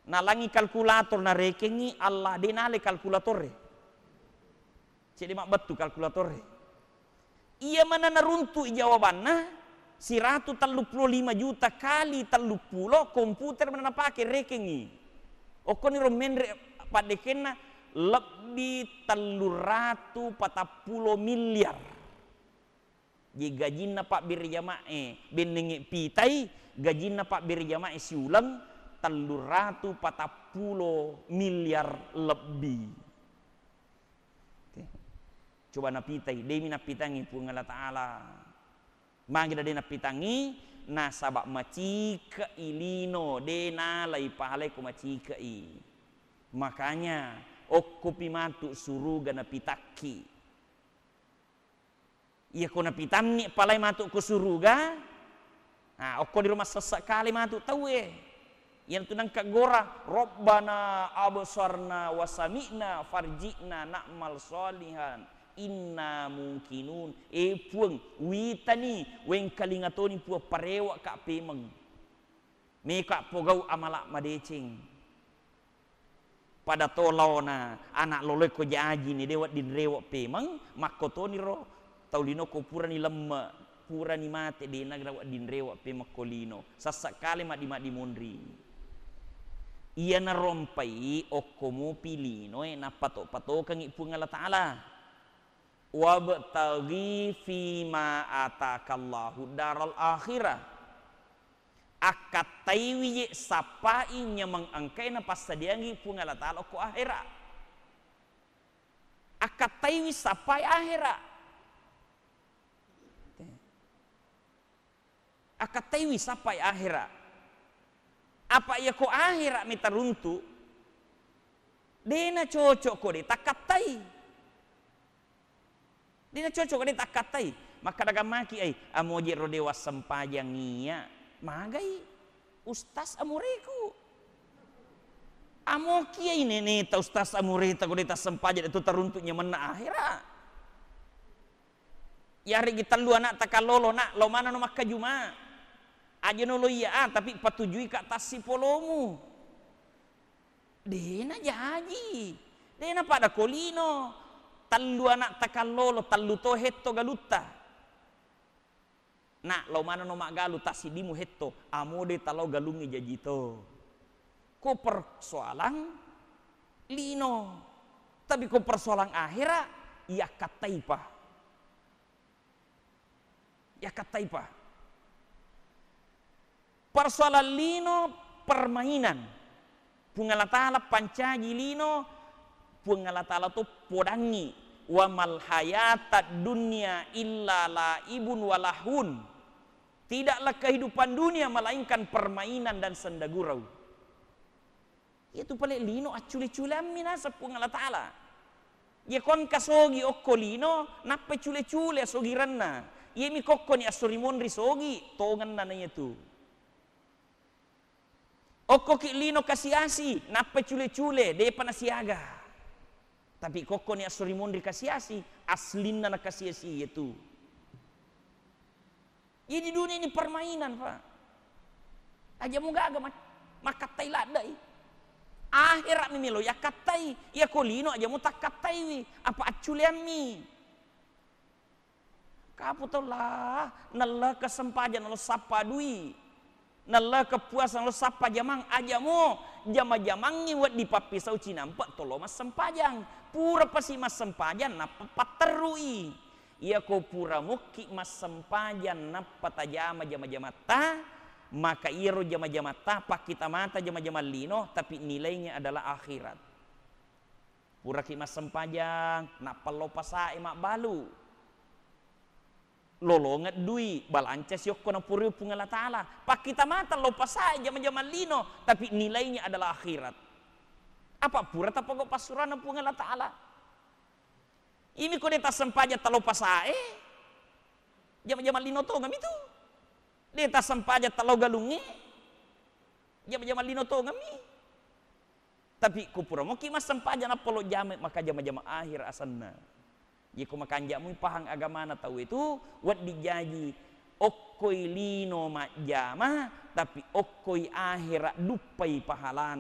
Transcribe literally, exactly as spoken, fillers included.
Nalangi kalkulator, narekengngi, Allah, de nale kalkulator e. Cedde mabbettu kalkulator e. Iya mana naruntu'i jawabanna, siratu telluppulo lima juta kali telluppulo, komputer mana napake, rekengngi. Okkoniro menre paddekenna, lebbi telluratu patappulo miliar. Jadi gajinna pabbere jama'e, bennengnge pitai, gajinna pabbere jama'e siuleng telluratu patappulo miliar lebbi. Oke. Coba napitai, demi napitangngi Puang Allah Ta'ala. Magi de napitangngi, nasaba macike'i lino, de nalai pahalai ko macike'i. Makanya, okkopi matu suruga napitakki. Iyako napitanni palai matu ko suruga, nah, okko diro massessa kale matu tauwe. Iyanatu nengka gora, "Rabbana absarna wa sami'na farji'na na'mal shalihan inna muqinun." Eh Puang, witani, wengkalinga toni Puang, parewa ka pemeng. Meka pogau amala madeceng. Pada to laona anak loloe ko jaji ni, de wedding rewe pemeng, makkotoniro tau lino ko purani lemme, purani mate, de nagra wedding rewe pemeng ko lino. Sessa kale maddi-maddi monri. Iyanaro mpai okko mopi linoe nappato-patokengngi Puang Allah Ta'ala. "Wabtaghi fima atakallahu daral akhirah." Akkattaiwi je sappai nyameng engkae napassadiangi Puang Allah Ta'ala okko ahera. Akkattaiwi sappai ahera. Akkattaiwi sappai ahera. Apa iyako ahera mi taruntu, de nacocok ko de takkattai. De nacocok ko de takkattai. Makkadagang maki ai, "Amoje ro de wassempajang iya." Magai, "Ustaz amureku." Amoki ai neneta, ustaz amureta ko de tassempajang, de to taruntu nyamenna ahera. Yareggi tellu anak takallolo, "Nak, lao manenno makkajuma. Ajano lo iya, ah, tapi patujui ka tassipolomu." De najaji. De napada ko lino. Tellu anak takallolo, tellu to hetto galutta. "Nak, lao manenno maggalu, tassiddimu hetto." "Amo de talao galungnge jaji to." Ko persoalang lino. Tapi ko persoalang ahera, iyakkattaipa. Iyakkattaipa. Persoalan lino permainan. Puang Allah Ta'ala pancaji lino, Puang Allah Ta'ala to podangngi, "Wa mal hayatad dunya illa laibun wa lahun." Tidaklah kehidupan dunia melainkan permainan dan sendagurau. Iyatu pale lino accule-culeammi naseng Puang Allah Ta'ala. Iyako engka sogi okko lino, nappai cule-cule asogirenna. Iyami kokkoni esso ri monri sogi, tongenna na iyatu. Okkoki lino kasi-asi, nappai cule-cule, depa nasiaga. Tapi kokkoni esso ri monri kasi-asi, aslinna na kasi-asi iyatu. Jadi dunia ini permainan, Pak. Aja mu gaga mak-, makkattai laddai. Akhirat mi melo yakkattai. Iyako lino aja mu takkattaiwi. Apa acculeammi. Kapu tau lah, nalleke sempajang nalo sappa dui. Nalleke puasa nalo sappa jamang. Aja mu jama-jamangngi wedding pappisau cinampe tolo massempajang. Pura pasi massempajang nappa patterrui. Iyako pura mukki massempajang nappa tajama jama-jamatta, maka iyaro jama-jamatta pakkita mata jama-jamang lino, tapi nilainya adalah akhirat. Puraki massempajang, nappa lo pasae mabbalu. Lolongeng dui, balanca siokko napurui Puang Allah Ta'ala. Pakkita mata lo pasae jama-jamang lino, tapi nilainya adalah akhirat. Apa pura tapogau passuranna Puang Allah Ta'ala? Imi ko de tassempajang talo pasae, jama-jamang lino tongeng mi tu. De tassempajang talo galungnge, jama-jamang lino tongeng mi. Tapi ko pura moki massempajang nappa lo jama, maka jama-jama akhir asenna. Iyako makanja mui pahang agamana tau itu, wedding jaji okkoi lino majjama, tapi okkoi akhira duppai pahalana.